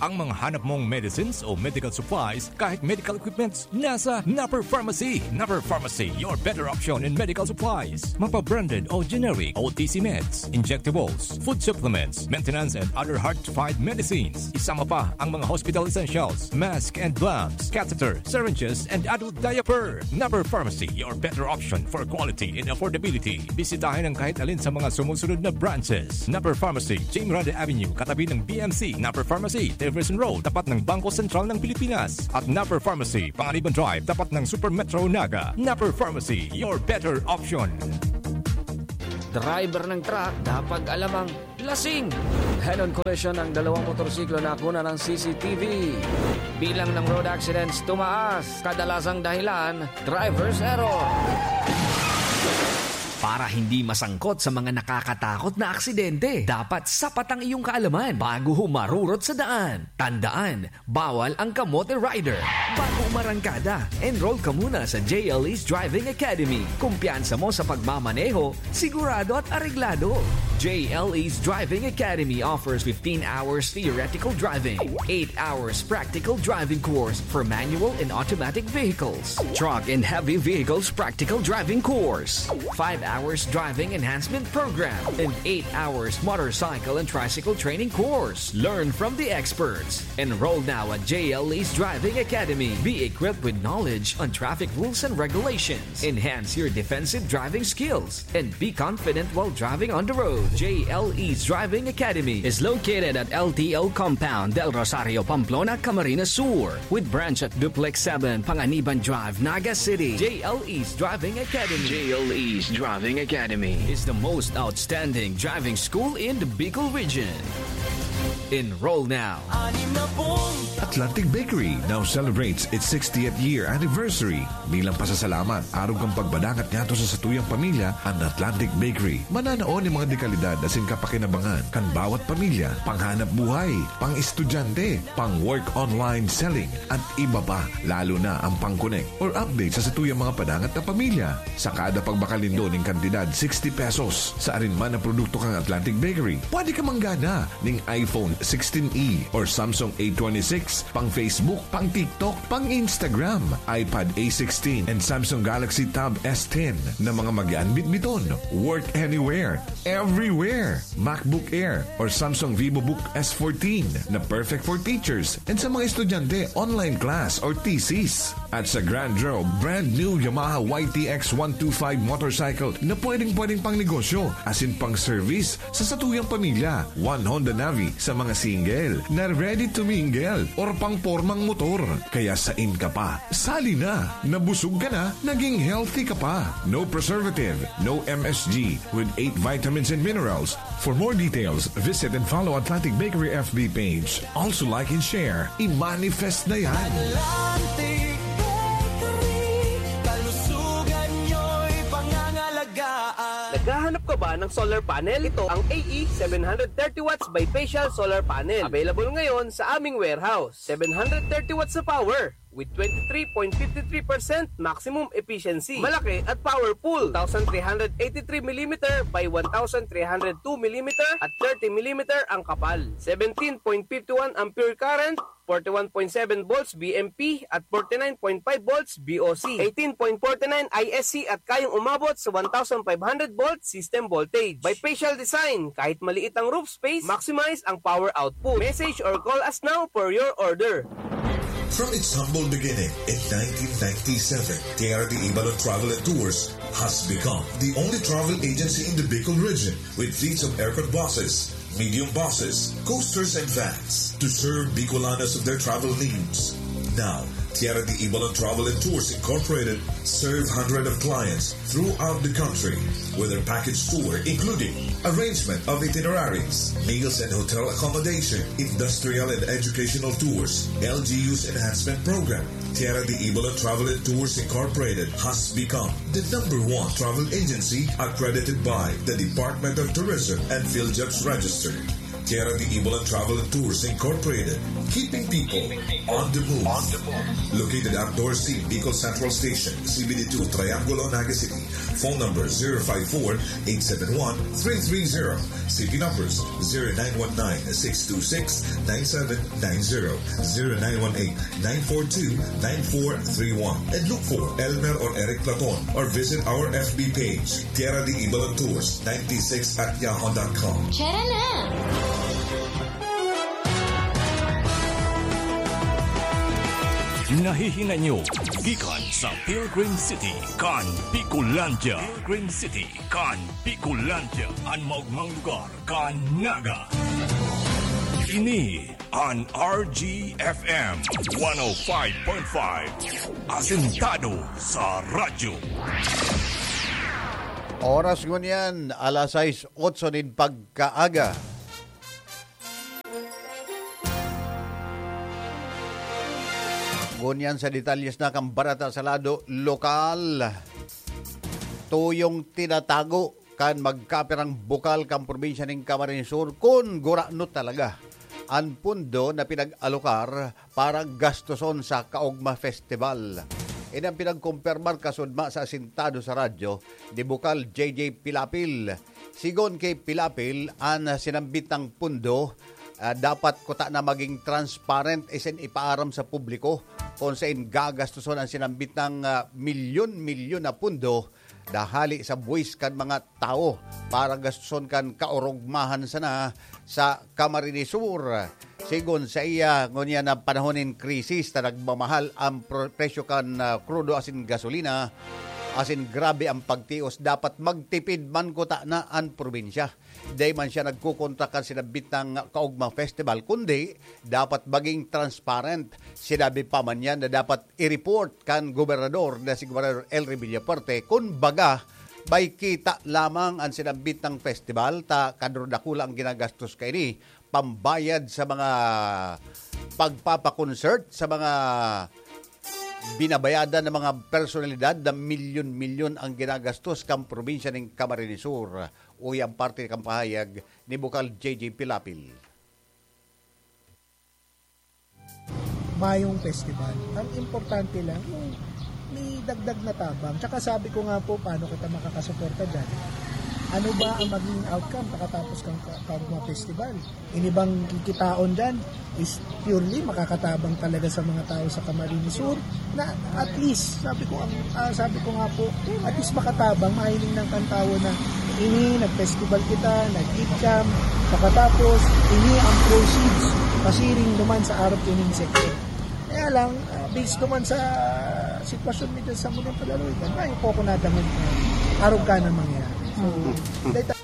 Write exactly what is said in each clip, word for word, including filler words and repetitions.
Ang mga hanap mong medicines o medical supplies, kahit medical equipments, nasa Napper Pharmacy. Napper Pharmacy, your better option in medical supplies. Mapa-branded o generic, O T C meds, injectables, food supplements, maintenance and other hard-to-find medicines. Isama pa ang mga hospital essentials, mask and gloves, catheter, syringes, and adult diaper. Napper Pharmacy, your better option for quality and affordability. Bisitahin ang kahit alin sa mga sumusunod na branches. Napper Pharmacy, Jing Grande Avenue, katabi ng B M C. Napper Pharmacy, Jefferson Road, tapat ng Bangko Sentral ng Pilipinas. At Napper Pharmacy, Panganiban Drive, tapat ng Super Metro Naga. Napper Pharmacy, your better option. Driver ng truck, dapat alam ang lasing. Head-on collision ng dalawang motorsiklo na kuna ng C C T V. Bilang ng road accidents tumaas, kadalasang dahilan, driver's error. Para hindi masangkot sa mga nakakatakot na aksidente, dapat sapat ang iyong kaalaman bago humarurot sa daan. Tandaan, bawal ang kamote rider. Bago umarangkada, enroll ka muna sa J L E's Driving Academy. Kumpiyansa mo sa pagmamaneho, sigurado at areglado. J L E's Driving Academy offers fifteen hours theoretical driving, eight hours practical driving course for manual and automatic vehicles, truck and heavy vehicles practical driving course, five hours driving enhancement program, and eight hours motorcycle and tricycle training course. Learn from the experts. Enroll now at J L E's Driving Academy. Be equipped with knowledge on traffic rules and regulations. Enhance your defensive driving skills and be confident while driving on the road. J L E's Driving Academy is located at L T O Compound, Del Rosario, Pamplona, Camarines Sur, with branch at Duplex seven, Panganiban Drive, Naga City. J L E's Driving Academy. J L E's Driving Academy is the most outstanding driving school in the Bicol region. Enroll now. Atlantic Bakery now celebrates its sixtieth year anniversary. Bilang pasasalamat, arog kan pagbadangat ngadto sa satuyang pamilya, an Atlantic Bakery mananao nin mga dekalidad asin kapakinabangan kan bawat pamilya, panghanap buhay, pang-estudyante, pang-work online selling, at iba pa, lalo na ang pang-connect or update sa satuyang mga padangat na pamilya. Sa kada pagbakal nindo nin kantidad sixty pesos sa arin man na produkto kan Atlantic Bakery, pwede ka manggana ning iPhone sixteen E or Samsung A twenty-six, pang Facebook, pang TikTok, pang Instagram, iPad A sixteen, and Samsung Galaxy Tab S ten na mga magaan bitbiton. Work anywhere, everywhere. MacBook Air or Samsung VivoBook S fourteen na perfect for teachers and sa mga estudyante, online class or thesis. At sa Grand Draw, brand new Yamaha Y T X one two five motorcycle na pwedeng-pwedeng pang negosyo, asin pang service sa satuyang pamilya. One Honda Navi sa mga single na ready to mingle or pang pormang motor. Kaya sain ka pa? Sali na! Nabusog ka na, naging healthy ka pa. No preservative, no M S G, with eight vitamins and minerals. For more details, visit and follow Atlantic Bakery F B page. Also like and share. I-manifest na yan! Atlantic Bakery, kalusugan nyo'y pangangalagaan. Naghahanap ka ba ng solar panel? Ito ang A E seven hundred thirty watts bifacial solar panel. Available ngayon sa aming warehouse. Seven hundred thirty watts na power with twenty-three point five three percent maximum efficiency. Malaki at powerful. Two thousand three hundred eighty-three millimeter by one thousand three hundred two millimeter at thirty millimeter ang kapal. Seventeen point five one ampere current, forty-one point seven volts V M P at forty-nine point five volts V O C, eighteen point forty-nine I S C at kayang umabot sa one thousand five hundred volt system voltage. Bifacial design, kahit maliit ang roof space, maximize ang power output. Message or call us now for your order. From its humble beginning in nineteen ninety-seven, Tierra de Ibalon Travel and Tours has become the only travel agency in the Bicol region with fleets of aircon buses, medium buses, coasters, and vans to serve Bicolanos of their travel needs. Now, Tierra de Ibalon Travel and Tours Incorporated serve hundreds of clients throughout the country with their package tour, including arrangement of itineraries, meals and hotel accommodation, industrial and educational tours, L G U's enhancement program. Tierra de Ibalon Travel and Tours Incorporated has become the number one travel agency accredited by the Department of Tourism and PhilJobs Register. Tierra de Ibalon Travel and Tours Incorporated, keeping people on the move. Located at Dorsey, Bicol Central Station, C B D two, Triangulo, Naga City. Phone number zero five four, eight seven one, three three zero. C P numbers zero nine one nine, six two six, nine seven nine zero, zero nine one eight, nine four two, nine four three one. And look for Elmer or Eric Platon or visit our F B page, Tierra de Ibalan Tours ninety-six at yahoo dot com. Tara na! Nahihinay nyo gikan sa Pilgrim City kan Bicolandia. Pilgrim City kan Bicolandia, an maogmang lugar kan Naga. Ini an R G F M one oh five point five, asentado sa radyo. Oras ngunyan, alas sais otso nin pagkaaga. Ngunyan sa detalyes na kan bareta sa lado lokal. Tuyong tinatago kan magkapirang bukal kan probinsya nin Camarines Sur kun gurano talaga an pondo na pinag-alokar para gastoson sa Kaogma Festival. Ini ang pinagkumpirmar kasudma sa asintado sa radyo ni Bukal J J Pilapil. Sigon ki Pilapil, an sinambit na pondo, ah, dapat kuta na maging transparent asin ipaaram sa publiko kun saen gagastoson an sinambit na, ah, milyon-milyon na pondo na hali sa buwis kan mga tawo para gastoson kan kaorogmahan sana sa Camarines Sur. Sigon saiya, ngunyan na panahon nin krisis na nagmamahal an pro-, presyo kan, ah, krudo asin gasolina, asin grabe an pagtios, dapat magtipid man kuta na an probinsya. Dai man siya nagkokontra kan sinambit na Kaogma Festival, kundi dapat maging transparent. Sinabi pa man niya na dapat i-report kan gobernador na si Gobernador Elry Villafuerte kun baga may kita lamang an sinambit na festival, ta kadrodakula an ginagastos kaini, pambayad sa mga pagpapa-concert, sa mga binabayadan ng mga personalidad na milyon-milyon ang ginagastos kan probinsya nin Camarines Sur. Uya an parte kan pahayag ni Bukal J J Pilapil. Mayong festival. Ang importante lang, yung may dagdag na tabang. Tsaka sabi ko nga po, paano kita makakasuporta dyan? Ano ba ang magiging outcome pagkatapos kang ka-, Kaugma Festival? Ini bang kikitaon dyan is purely makakatabang talaga sa mga tao sa Camarines Sur na at least, sabi ko, ang, ah, sabi ko nga po, at least makatabang, mahiling ng kantawo na ini, nag-festival kita, nag-eat kami, pagkatapos, ini ang proceeds, pasiring naman sa arog ining sektor. Kaya lang, ah, based naman sa sitwasyon mi dyan sa Munang Palaluigan, may po ako nadangog na arog ka na mangyayari. So, dahil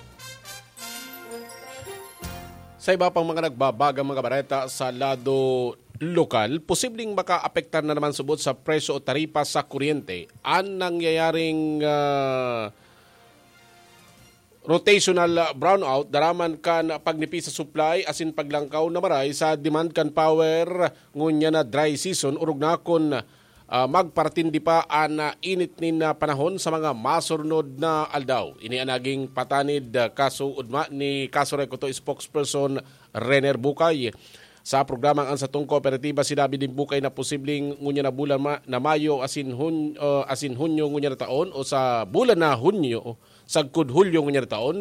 Sa iba pang mga nagbabagang mga bareta sa lado lokal, posibleng makaapektar na naman subot sa presyo o taripa sa kuryente an nangyayaring, ah, rotational brownout daraman kan pagnipi sa supply asin paglangkaw na maray sa demand kan power ngunyan na dry season, orog na kun ah, magparatindi pa an, ah, init nin, ah, panahon sa mga masurnod na aldaw. Ini an naging patanid, ah, kasuodma ni Kasurek Oto spokesperson Renner Bukay. Sa programang An Satong Kooperatiba, sinabi ni Bukay na posibleng ngunyan na bulan ma-, na Mayo asin Hun-, ah, asin Hunyo ngunyan na taon o sa bulan na Hunyo, sagkod Hulyo ngunyan na taon,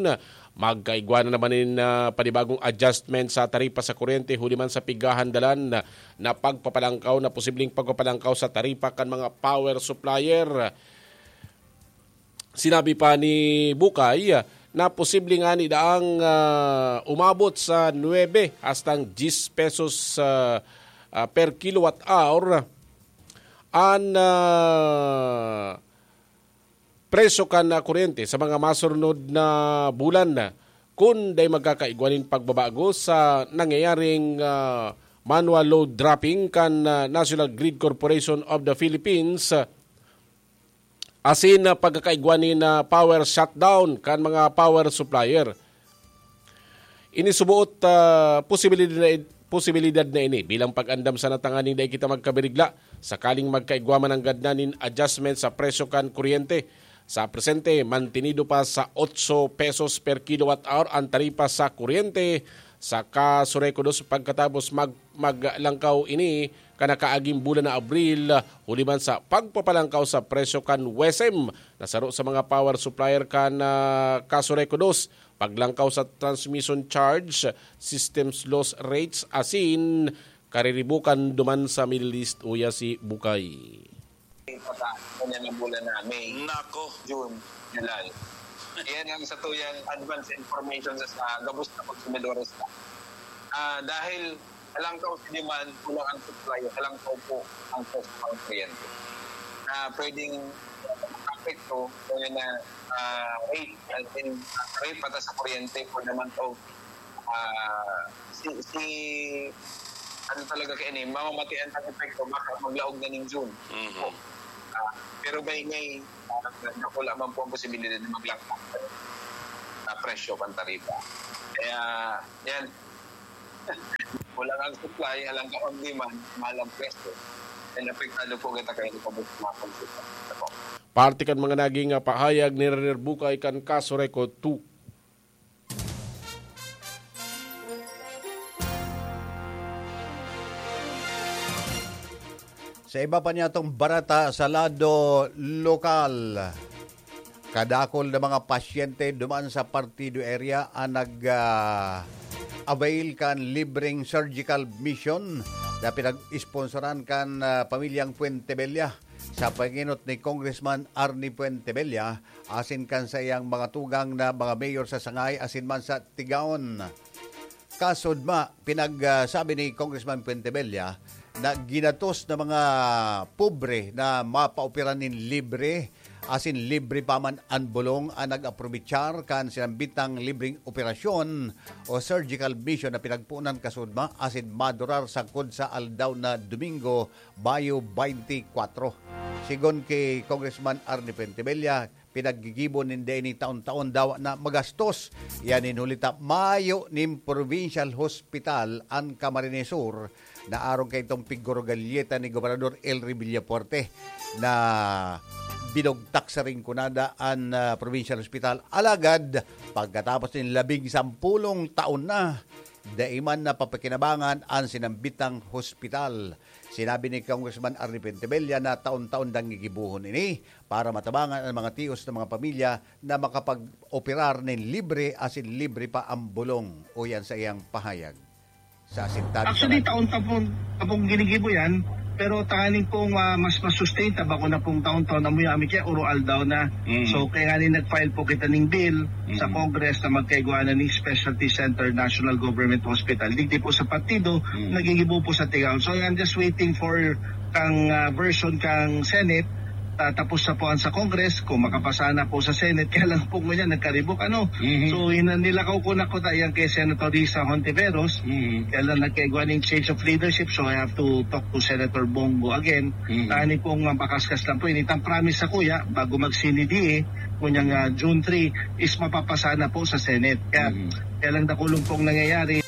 magkaigwa na naman nin, ah, panibagong adjustment sa taripa sa kuryente huli man sa pigahan dalan na, na pagpapalangkaw, na posibleng pagpapalangkaw sa taripa kan mga power supplier. Sinabi pa ni Bukay na posible ngani daang, ah, umabot sa nuebe hastang diyes pesos, ah, ah, per kilowatt hour an, ah, presyo kan, ah, kuryente sa mga masurnod na bulan, kun dai magkakaigwa nin pagbabago sa nangyayaring, ah, manual load dropping kan, ah, National Grid Corporation of the Philippines, ah, asin, ah, pagkakaigwa nin, ah, power shutdown kan mga power supplier. Ini suboot, ah, posibilidad na, posibilidad na ini bilang pag-andam sana tanganing dai kita magkabirigla sakaling magkaigwa man nanggad na nin adjustment sa presyo kan kuryente. Sa presente, mantenido pa sa otso pesos per kilowatt hour an taripa sa kuryente Sa Casureco dos, pagkatapos mag-, maglangkaw ini kan nakaaging bulan na Abril, huli man sa pagpapalangkaw sa presyo kan WESM na saro sa mga power supplier kan, ah, Casureco dos, paglangkaw sa transmission charge, systems loss rates, asin kariribukan duman sa Middle East, uya si Bukay. Pata, kanya na bulan na May, Nako. June, July. Yan ang sa tuyang advance information sa, sa gabos na konsumidores na. Ah, dahil halangkaw sa demand, kulang ang supply, halangkaw po ang cost ng kuryente. Na pwedeng apekto, kaya na, ah, rate, as in, rate pata sa kuryente for the month of, ah, si, si, ano talaga kaya ni, mamamatian ang epekto, baka maglaog na ning June. Mhm. Ah, pero by May, ah, dakula man po ang posibilidad na maglangkaw na presyo kan taripa. Kaya, yan. Kulang ang supply, halangkaw ang demand, mahal ang presyo. And apektado po kita kayo sa mga consumer. Parte kan mga naging, ah, pahayag ni Ranier Bukay kan Casureco two. Sa iba pa niyatong bareta sa lado lokal, kadakol na mga pasyente duman sa Partido area ang nag, ah, avail kan libreng surgical mission na pinag-sponsoran kan, ah, pamilyang Fuentebella. Sa pangenot ni Congressman Arnie Fuentebella, asin kan saiyang mga tugang na mga mayor sa Sangay asin man sa Tigaon. Kasudma, pinagsabi ni Congressman Fuentebella na ginatos na mga pobre na mapaopera nin libre, asin libre pa man an bulong, ang nag-aprobechar kan sinambitang libreng operasyon o surgical mission na pinagpunan kasudma asin madurar sagkod sa aldaw na Domingo, Mayo twenty-four. Sigon ki Congressman Arnie Fuentebella, pinaggigibo ninda ini taon-taon dawa na magastos. Yan in huli ta mayo nin provincial hospital an Camarines Sur na arong kaitong piggurugalyeta ni Gobernador Elry Villafuerte na binugtak sa Rinconada an, ah, provincial hospital. Alagad, pagkatapos nin labing sampulong taon na, dai man napapakinabangan an sinambitang hospital. Sinabi ni Congressman Arnie Fuentebella na taon-taon dang gigibohon ini para matabangan an mga tios na mga pamilya na makapag-operar nin libre asin libre pa ang bulong, uyan sa iyang pahayag. Sa asintado Actually, naman, taon-taon pong, taon pong ginigibo yan, pero tanganing pong, ah, mas masustain ta, bako na pong taon-taon na muya, ami kaya uro aldaw na. Mm. So, kaya nga ni nag-file po kita ning bill sa Mm. Congress na magkaigwa na ning specialty center national government hospital. Digdi po sa partido, Mm. nagigibo po sa Tigaon. So, I'm just waiting for kang, ah, version kang Senate. Tatapos na po ang sa Congress, kung makapasa na po sa Senate, kaya lang po ngunyan, nagkaribok, ano? Mhm. So, ina-, nilakaw ko na ko ta yan kay Senator Risa Hontiveros. Mhm. Kaya lang nagkaigwa ning change of leadership, so I have to talk to Senator Bongo again. Mhm. Tani pong mapakaskas lang po. Initang promise sa kuya, bago mag-C N D A, kunyang, ah, June three, is mapapasa na po sa Senate. Kaya, Mhm. kaya lang dakulong pong nangyayari.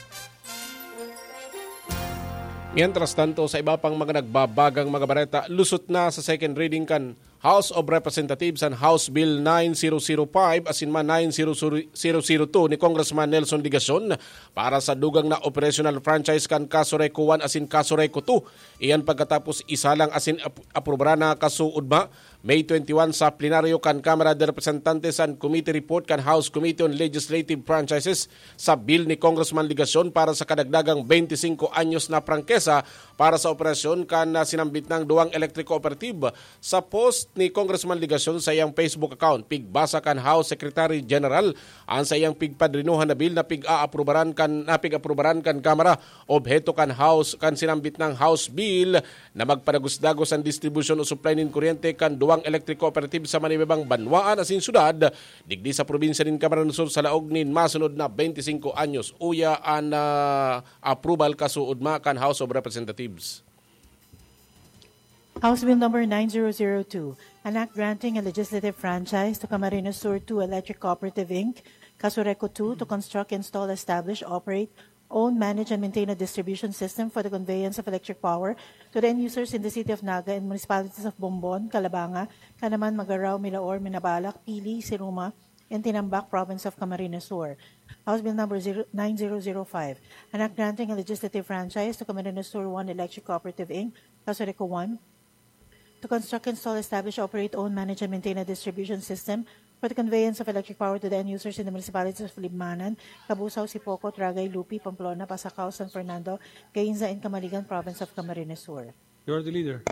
Mientras tanto, sa iba pang mga nagbabagang mga bareta, lusot na sa second reading kan House of Representatives an House Bill nine zero zero five asin man nine zero zero two ni Congressman Nelson Legacion para sa dugang na operational franchise kan Casureco one asin Casureco two. Iyan pagkatapos isalang asin ap-, aprubaran na kasuodma May twenty-one sa plenaryo kan Kamara de Representantes an committee report kan House Committee on Legislative Franchises sa bill ni Congressman Legacion para sa kadagdagang twenty-cinco anyos na prangkesa para sa operasyon kan, ah, sinambit nang duwang electric cooperative. Sa post ni Congressman Legacion sa iyang Facebook account, pigbasa kan House Secretary General an sa iyang pigpadrinohan na bill na pig-aaprubaran kan, na pig-aprubaran kan Kamara. Obheto kan House, kan sinambit nang House Bill na magpadagos-dagos an distribusyon o supply nin kuryente kan duwang electric cooperative sa manibabang banwaan asin syudad, digdi sa probinsya nin Camarines Sur sa laog nin masunod na twenty-cinco anyos. Uya an, ah, approval kasuodma kan House of Representatives. House Bill Number nine zero zero two, an act granting a legislative franchise to Camarines Sur two Electric Cooperative Inc, Casureco two, to construct, install, establish, operate, own, manage, and maintain a distribution system for the conveyance of electric power to the end users in the city of Naga and municipalities of Bombon, Calabanga, Canaman, Magarao, Milaor, Minabalak, Pili, Siruma, in Tinambac, Province of Camarines Sur. House Bill Number zero, nine zero zero five, an act granting a legislative franchise to Camarines Sur one Electric Cooperative Inc, Casureco one, to construct, install, establish, operate, own, manage, and maintain a distribution system for the conveyance of electric power to the end users in the municipalities of Libmanan, Cabusao, Sipoco, Tragay, Lupi, Pamplona, Pasacao, San Fernando, Gainza, and Camaligan, Province of Camarines Sur. Majority Leader.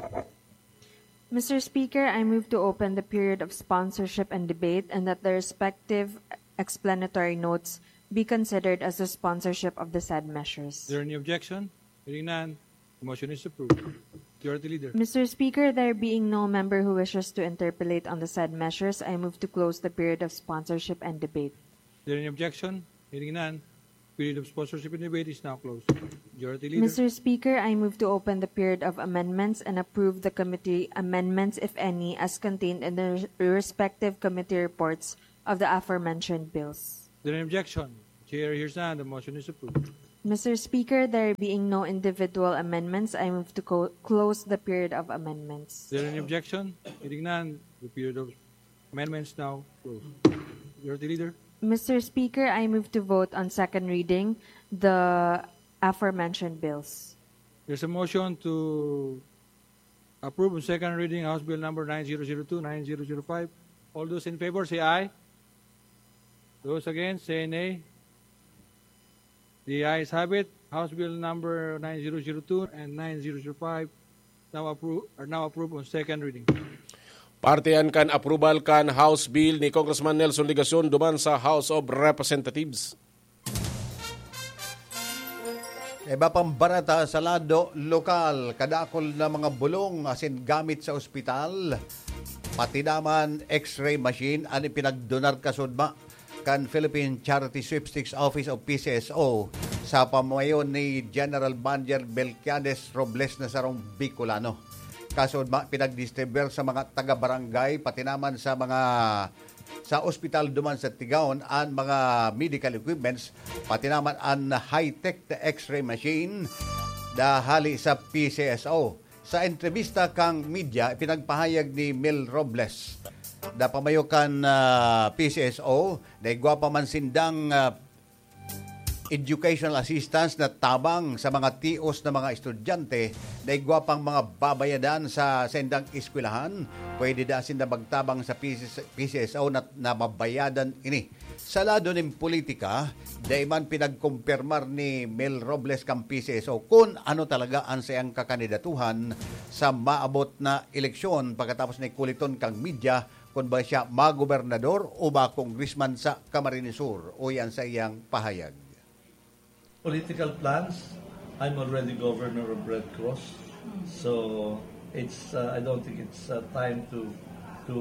Mister Speaker, I move to open the period of sponsorship and debate and that the respective explanatory notes be considered as the sponsorship of the said measures. Is there any objection? Hearing none, the motion is approved. Majority Leader. Mister Speaker, there being no member who wishes to interpolate on the said measures, I move to close the period of sponsorship and debate. Is there any objection? Hearing none, period of sponsorship and debate is now closed. Majority Leader. Mister Speaker, I move to open the period of amendments and approve the committee amendments, if any, as contained in the respective committee reports of the aforementioned bills. Is there any objection? Chair hears none. The motion is approved. Mister Speaker, there being no individual amendments, I move to co- close the period of amendments. Is there any objection? Hearing none, the period of amendments now closed. Majority Leader. Mister Speaker, I move to vote on second reading the aforementioned bills. There's a motion to approve on second reading House Bill number nine zero zero two, nine zero zero five. All those in favor say aye. Those against say nay. The ayes have it. House Bill number nine zero zero two and nine zero zero five now appro- are now approved on second reading. Parte yan kan approval kan House Bill ni Congressman Nelson Legacion duman sa House of Representatives. Iba pang bareta sa lado lokal, kadakol na mga bulong asin gamit sa ospital, pati naman X-ray machine an ipinagdonar kasudma kan Philippine Charity Sweepstakes Office o P C S O sa pamayo ni General Manager Melquiades Robles na sarong Bicolano. Kasudma, pinagdistribuir sa mga taga-barangay, pati naman sa mga sa ospital duman sa Tigaon an mga medical equipments, pati naman an high-tech na X-ray machine na hali sa P C S O. Sa entrebista kan media, ipinagpahayag ni Mel Robles na pamayo kan ah, P C S O na igwa pa man sindang ah, educational assistance na tabang sa mga tios na mga estudyante na igwa pang mga babayadan sa saindang eskwelahan, pwede da sinda magtabang sa P C S, P C S O na, na mabayadan ini. Sa lado nin politika, dai man pinagkumpirmar ni Mel Robles kan P C S O kun ano talaga an saiyang kakandidatuhan sa maabot na eleksyon pagkatapos na ikuliton kan media kun ba siya magobernador o ba congressman sa Camarines Sur, uyan sa iyang pahayag. Political plans, I'm already governor of Red Cross. So it's uh, I don't think it's uh, time to to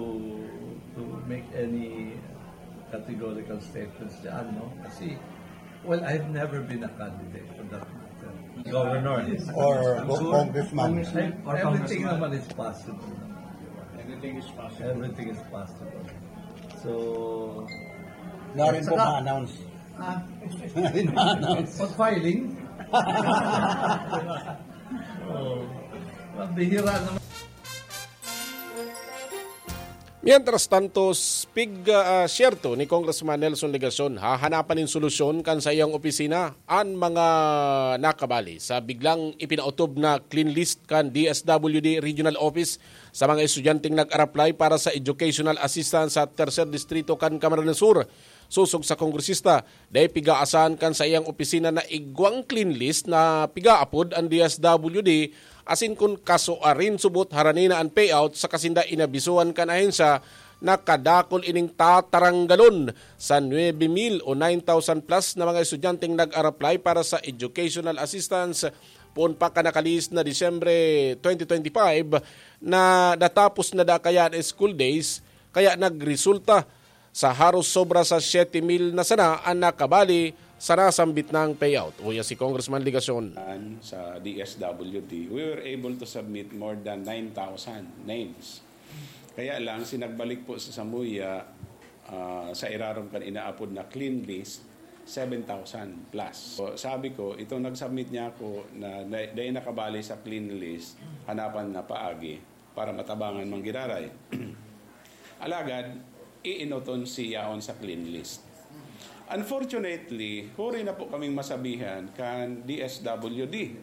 to make any categorical statements diyan, no? Kasi, well, I've never been a candidate for that matter. Governor. Or go- congressman. Everything naman is possible. Everything is possible. Everything is possible. So, Narin po Saka- ma-announce. Ah, Narin ma-announce. Pag-filing. Oh, mabihira naman. Mientras tanto, pig ah, siyerto ni Congressman Nelson Legacion, hahanapan nin solusyon kan sa iyang opisina an mga nakabali sa biglang ipinautob na clean list kan D S W D Regional Office sa mga estudyanteng nag-araplay para sa educational assistance sa Tercer Distrito kan Camarines Sur. Sosog sa kongresista, dai pigaasan kan sa iyang opisina na igwang clean list na pigaapod an D S W D asin kun kasuarin subot harani na an payout sa kasinda inabisohan kan ahensya na kadakol ining tataranggalon sa nuebe mil o nine thousand plus na mga estudyanteng nag-araplay para sa educational assistance poon pa kan nakalihis na Disyembre twenty twenty-five na natapos na da kaya an school days, kaya nagresulta sa haros sobra sa siyete mil na sana an nakabali sa nasambit nang payout. Uya si Congressman Legacion. Sa D S W D, we were able to submit more than nine thousand names. Kaya lang, sinagbalik po sa Samuya, ah, sa irarom kan inaapod na clean list, seven thousand plus. So, sabi ko, itong nag-submit niya ako na na- dahil nakabali sa clean list, hanapan na paagi para matabangan manggiraray. Alagad, iinoton si yaon sa clean list. Unfortunately, huri na po kaming masabihan kan D S W D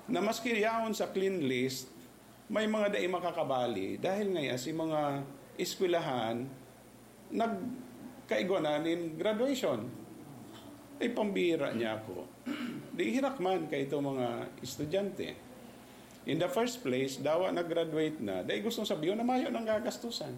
na maski yaon sa clean list, may mga dai makakabali dahil ngaya si mga eskwelahan nagkaigwa na nin graduation. Ay pambira niya ako. Di hirak man kay ito mga estudyante. In the first place, dawa nag-graduate na, dai gustong sabihin na mayo nang gagastusan.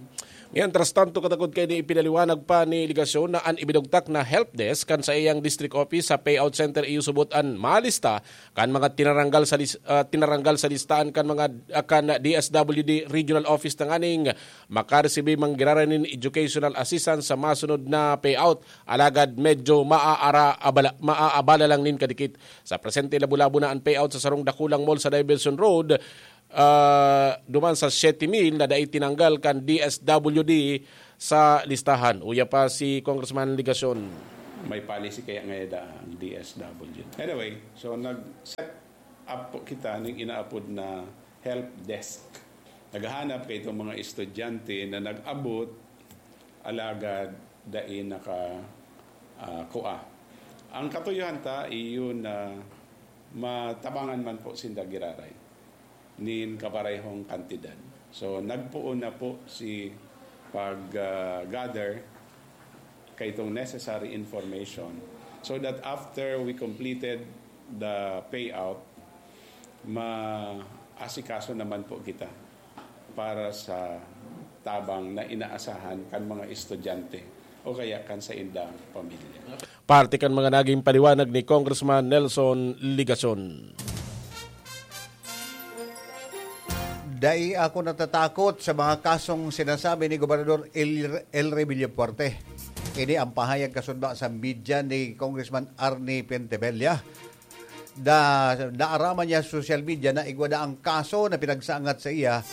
Mientras tanto, katakod kaini, ipinaliwanag pa ni Legacion na an ibinugtak na help desk kan saiyang district office sa payout center iyo subot an malista kan mga tinaranggal sa lis-, ah, tinaranggal sa listahan kan mga, ah, kan D S W D regional office tanganing makaresibi man giraray nin educational assistance sa masunod na payout. Alagad medyo maaara-, abala-, maaabala lang nin kadikit. Sa presente, labo-labo na an payout sa sarong dakulang mall sa Diversion Road, ah, duman sa siyete mil na dai tinanggal kan D S W D sa listahan. Uya pa si Congressman Legacion. May policy kaya ngayon ang D S W. Anyway, so nag-set up po kita ng inaapod na help desk. Naghahanap kay itong mga estudyante na nag-abot, alagad dai naka, ah, kua. Ang katuyuhan ta, iyo na matabangan man po sinda giraray nin kaparehong kantidad. So, nagpoon na po si pag, ah, gather kay itong necessary information so that after we completed the payout, maasikaso naman po kita para sa tabang na inaasahan kan mga estudyante o kaya kan saindang pamilya. Parte kan mga naging paliwanag ni Congressman Nelson Legacion. Dai ako natatakot sa mga kasong sinasabi ni Gobernador El, El Rey Villafuerte. Ini ang pahayag kasunod sa media ni Congressman Arnie Pentebella. Da, naaraman niya sa social media na igwa na ang kaso na pinagsangat sa iya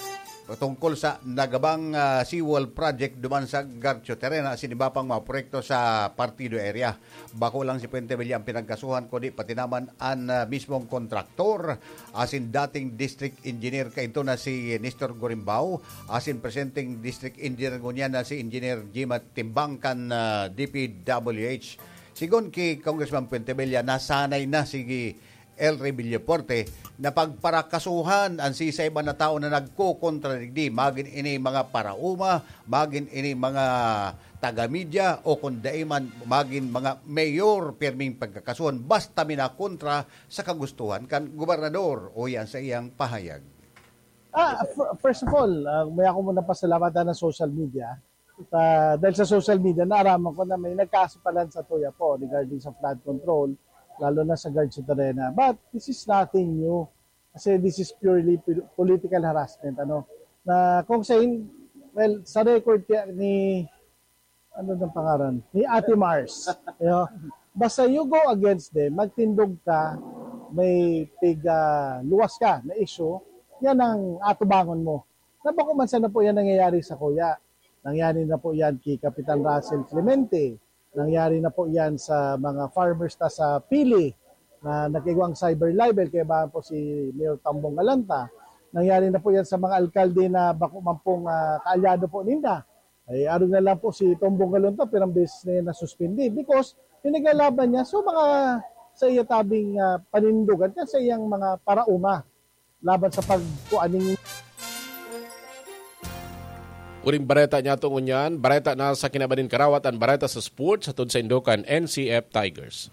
tungkol sa nagabang, ah, seawall project duman sa Garcio Terena asin iba pang mga proyekto sa Partido area. Bako lang si Puente Villa ang pinagkasuhan, kundi pati naman an, ah, mismong kontraktor, asin dating district engineer kaidto na si Nestor Gorimbao, asin presenteng district engineer ngunyan na si Engineer Jima Timbang kan, ah, D P W H. Sigon ki Congressman Puente Villa, nasanay na si El Rey Villafuerte na pagparakasuhan an sisay man na tawo na nagkokontra digdi, magin ini mga paraoma, magin ini mga taga-media, o kun dai man, magin mga mayor, pirming pagkakasuhan, basta minakontra sa kagustuhan kan gobernador o yan sa iyang pahayag. Ah, fir-, first of all, ah, may ako muna pasalamat na social media. Ah, dahil sa social media, naaraman ko na may nagkaso pala sa Tuya po regarding sa flood control, lalo na sa Guard Soterena. But this is nothing new. Kasi this is purely pol-, political harassment. Ano? Na kung sa in-, well, sa record kaya ni, ano ng pangalan? Ni Ate Mars. You know? Basta you go against them, magtindog ka, may pig, ah, luwas ka na issue, yan ang atubangon mo. Na bako man sana po yan nangyayari sa kuya. Nangyari na po yan kay Kapitan Russell Clemente. Nangyari na po yan sa mga farmers ta sa Pili na nag-igwang cyber libel, kaya ba po si Mayor Tambong Galanta. Nangyari na po yan sa mga alkalde na bako man pong, ah, kaalyado po ninda. Ay, arog na lang po si Tombong Galanta, pirang beses na yan nasuspindi because pinaglalaban niya so mga sa iya tabing, ah, panindugan kan sa iyang mga parauma laban sa pagkuan ning Uring bareta niya to ngunyan, bareta na sa kinaban nin karawat, an bareta sa sports, hatod sa indokan N C F Tigers.